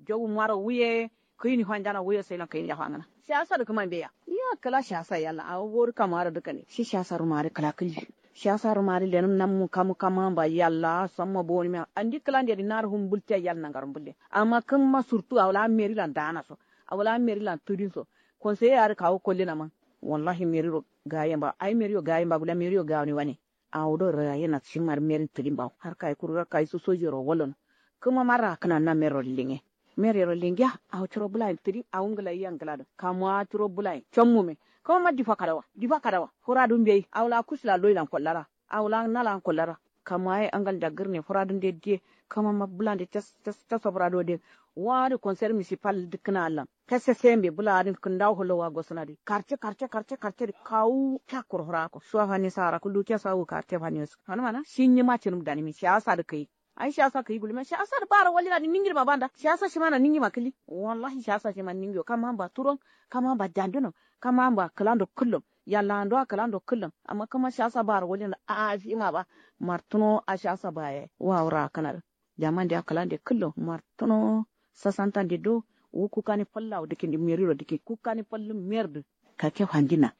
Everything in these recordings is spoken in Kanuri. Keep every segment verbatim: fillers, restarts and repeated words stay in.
Jogu maro wuye. Kǝyini fanjana wuye sailan kǝyini ya fangǝna. Siyasa dǝ kǝma mbeya. Iya kǝla siyasa yalla awo wori kama adǝ dǝkkane shi siyasa ruma adǝ kǝla kǝlli. Siyasa ruma adǝ lenǝm nammu kamu kama mba yalla samma bowonimiya andi kǝlande dǝ narǝ fum mbultiya yal nangaro mbulle. Amma kǝmma surtu awo la merilan danaso. Awo la merilan tǝdinso. Konsoye adǝ kawu kollena man. Wallahi meriro gaye mba ai meriyo gaye mba gula meriyo gawoni wane. Awo do raye na shima dǝ merin tǝdin bawo har kayi kuru har kayi so sojiyero wallono. Kǝma marra kǝna na meriro linge. Meriro linge ya awo curo bulayin tǝdin awo ngǝlayi ya ngǝladǝ kamuwa curo bulayin. Cammume. Kǝma ma difa kadawa difa kadawa. Fura dǝ mbeyi awo la kusula loyilan kollara. Awo la nalan kollara. Kamuwa ye angal nda gǝrne fura dǝ nde diye. Kǝma ma bulande cas cas caso fura dǝ wo diye. Wa dǝ konser misipal dǝkkǝna allan. Kese sembe bula adin kǝndawo holowa gosǝna dǝ karce karce karce karce dǝ kawu. Cakkuro fǝrako shuwa fanni sara kullu kesa wu karte fanni wasu fanǝmana shi nyima cǝnǝm danimi siyasa dǝ kǝyi. Ai siyasa kǝyi gullumiya siyasa dǝ bara wallina dǝ ningidima banda siyasa shima na ningima kǝli. Wallahi siyasa shima ningiyo kama mba turon kama mba dandǝno kama mba kǝlando kǝllum. Yallando a kǝlando kǝllum. Amma kǝma siyasa bara wallina a'a shima ba martǝno a siyasa ba yayi wa wura kǝna dǝ. Jaman de akkalande kǝllo martǝno. Sasantande do wu kukkani falla awo dǝkindi meriro dǝkin kukkani fallum merdǝ. Kake fandina.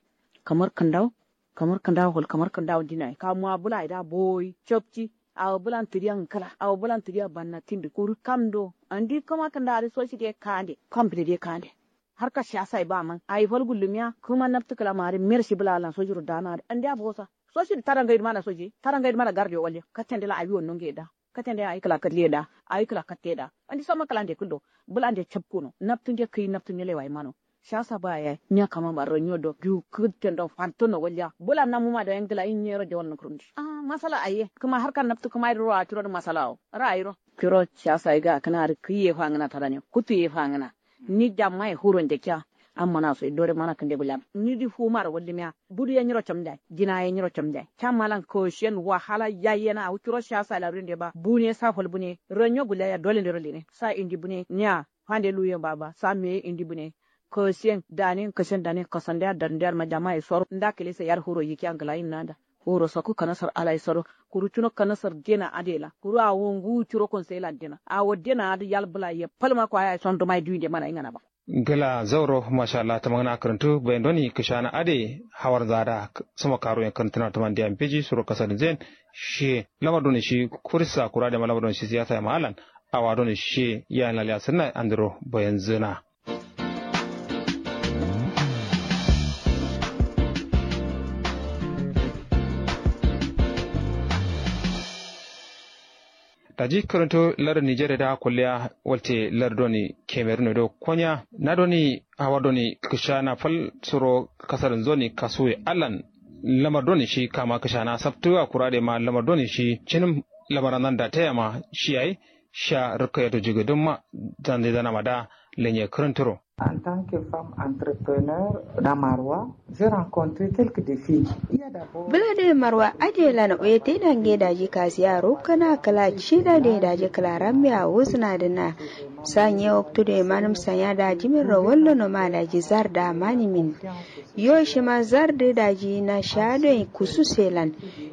Kamar kǝndawo. Kamar kǝndawo hol kamar kǝndawo dinaye kamuwa bulaye da bowoyi capci. Awo bulan tǝdiya ngǝkǝla awo bulan tǝdiya banna tindǝ kuru kamdo. Andi kǝma kǝnda adǝ soci de kande kam bǝde de kande. Harka siyasaye ba man ayi fal gullumiya kǝma naptǝ kǝla ma adǝ mershi bula alan sociro dana adǝ andiya bowosa. Soci dǝ tada ngaidǝ mana soci tada ngaidǝ mana gardiyo walliya kattende la awi wonno ngaye da. Katende ayi kǝla kalle da ayi kǝla katte da. Andi samma kǝlande kǝllo. Bǝlande capkuno naptǝnde kǝyi naptǝnde lewa imano. Siyasa ba yayi nya kama ma ranyo do biwu kǝttendo fantono walliya bǝla namuma do yangǝla yin nyero jawal nǝkǝrun dǝ. Masala ayi ye kǝma harka naptǝ kǝma ye dǝ ro a curo dǝ masala wo. Ra'ayiro. Curo siyasa ye ga kǝna adǝ kǝyi ye fangǝna tadane kuttu ye fangǝna. Ni jamma ye furo njakkiya. Amma naso ye dore mana kǝnde gulliya ni dǝ fumaro wallimiya. Budu ye nyiro camnjayi jina ye nyiro camnjayi camma lan koshiyen wahala yayi yena awo curo siyasa ye la ruyen de ba bune sa fal bune. Ranyo gulliya ya dole ndero lene sa indi bune nya. Fande luyen ba ba sa meye indi bune. Koshiyen dane kashen dane kasande ya darnde ya ma jama ye soro nda kǝlesa yar furo yikkiya ngǝla yin nanda. Furo sakku kanasar ala ye soro. Kuru cuno kanasar dena adǝ ye la kuru awo nguwu curo konso ye la dena awo dena adǝ yal bǝla ye fal ma kwaya ye son duma ye duwinde mana ingana ba. Gla zauro masha allah tamangna kǝrǝntǝ bayin doni kǝshana adǝ ye. Hawar nza adǝ a sǝmo karu yen kǝrǝntǝna tǝmande ya mbeji suro kasadǝ nzen. Shiye lamar doni shi kurisa kura adǝ ye ma lamar doni shi siyasa ye ma allan. Awa doni shiye yayin laliya sǝdǝna andiro bayin zǝna. Daji kǝrǝnto lardǝ nijer ye da kulliya walte lardǝ doni kemerun ye do konya na doni hawa doni kǝshana fal suro kasadǝn zoni kasuwe allan. Lamar doni shi kama kǝshana sabtǝ wa kura adǝ ye ma lamar doni shi cǝnǝm. Lamaran zan dataya ma shi yayi sha rǝkkǝ yato jigǝdǝmma. Zande zanama da lenye kǝrǝntǝro. En tant que femme entrepreneur da marwa, j'ai rencontré quelques défis. Bǝla doi marwa adǝ ye lan wuye taida nge daji kasiya rukkǝna kǝla cida doi daji kǝla rambe awusǝna dǝna. Sa nye waktu doi manǝm sanya daji min ro wallono ma daji zar da manimin. Yo shima zardǝ daji nasha doi kusu selan.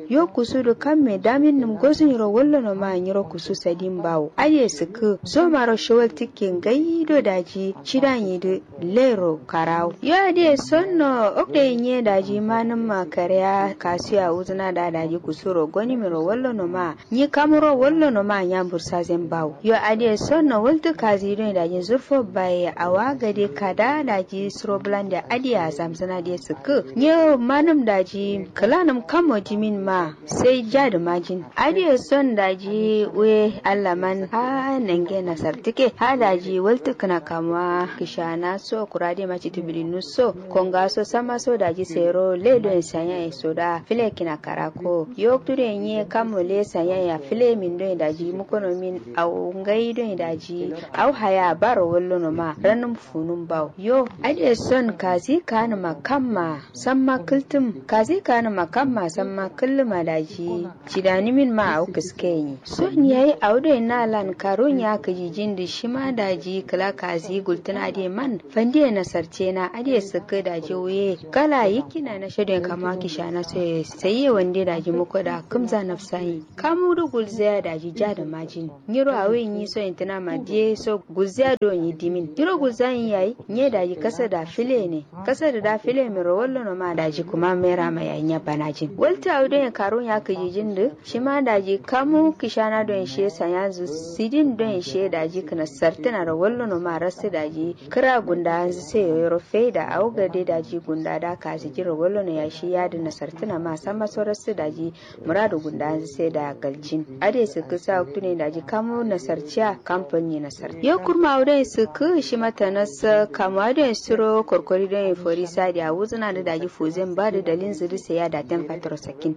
Yo kusu dǝ kamme damin nǝm gosu nyiro wallono ma nyiro kusu sadin bawo adǝ ye sǝkkǝ. Zomaro shawal tǝkke ngai do daji cidan yidǝ. Lero karawo yo adǝ ye sonno. Okto ye nye daji manǝm ma kare a kasu ye awuzǝna da daji kusu ro goni miro wallono ma. Nyi kamuro wallono ma nya bursazen bawo yo adǝ ye sonno waltǝ kazi doi daji zurfo baye awa gade kada daji suro bǝlande adǝ ye azamzǝna dǝ ye sǝkkǝ. Nye manǝm daji kǝlanǝm kammo dimin ma. Sai jadǝ majin adǝ ye son daji wuye allaman ha nange nasartǝke ha daji waltǝkkǝna kamuwa kǝshana so kura adǝ ye ma citǝ bǝlinnu so. Konga so samma so daji sero le doi sanya ye so da fǝle kǝna karako yo waktu doi nye kammo le sanya ye a fǝle min doi daji mukono min. Awo ngai doi daji awo haya baro wallono ma ranǝm funǝm bawo yo. Adǝ ye son kazi kanǝma kamma samma kǝltǝm kazi kanǝma kamma samma kǝllǝm. ma daji cidanimin ma awo kǝske nyi son yayi awo doi nalan karun ya kǝjijin dǝ shima daji kǝla kazi gultǝna dǝ ye man fandiye nasartena adǝ ye sǝkkǝ daji wuye kala yikkina nasha doi kama kishana soye sai ye wande daji muko da kǝmza nafsa nyi kamu dǝ gulzaya daji ja dǝ majin nyiro awi nyi so intǝna ma diye so gulziya do nyi dimin nyiro gulza nyi yayi nye daji kasa da file ne kasa da da file miro wallo no ma daji kuma mera ma yayi nya banajin walta awi do yin karun ya kǝjijin dǝ shima daji kamu kishana do yin shiye sanya zu sidin do yin shiye daji kǝna sartǝna ro wallo no ma rasu daji kǝra gunda anzu sai yoro faida awo gade daji gunda da kazi jiro wallo no ya shi ya dǝ na sartǝna ma samma so rasu daji muradu gundanzǝ sai da galjin ade sǝkkǝ sa waktune daji kamu nasarciya kampani nasar yo kurma wudoyin sǝkkǝ shima tanas kamu adoyin suro korkori doyin fori sadi awuzǝna dǝ daji fuzen ba dǝ dalinzǝ dǝ sai ya daten fataro sakin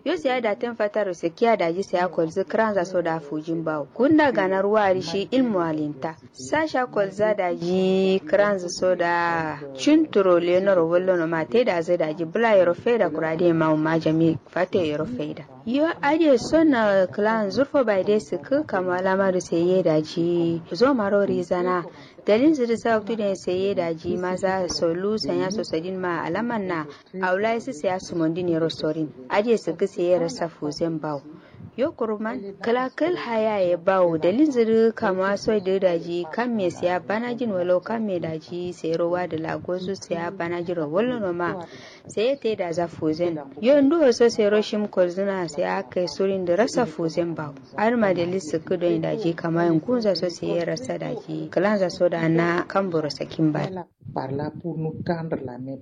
yo sai ya daten fataro sakiya daji sai ya kolzǝ kǝranza so da fujin bawo gunda ganar wari shi ilmu alinta sasha kolza daji kǝranzǝ so da cunturo lenoro wallono ma taidazǝ daji bǝla yero faida kura dǝ ye ma umma jami fato yero faida yo adǝ ye son kǝlan zurfo bai dai sǝkkǝ kamu alama dǝ sai ye daji zomaro rizana dalilzǝ dǝ sa waktu dǝ ye sai ye daji maza solu sanya so sadin ma alaman na awula ye sǝ sai ya sumondin yero sorin adǝ ye sǝkkǝ sai ye rasa fuzen bawo yo kuruman kǝla kǝl haya ye bawo dalilzǝ dǝ kamuwa soi dǝ daji kamme sai ya banajin walau kamme daji sai ro wadǝ la gozu sai ya banajin ro wallono ma sai ye taida za fuzen yo nduwo so sai ro shim kolzǝna sai ya kai surin dǝ rasa fuzen bawo adǝ ma dalil sǝkkǝ doyin daji kama yin kunza so sai ye rasa daji kǝlanza so da na kamburo sakin ba. Par la pour nous tendre la main.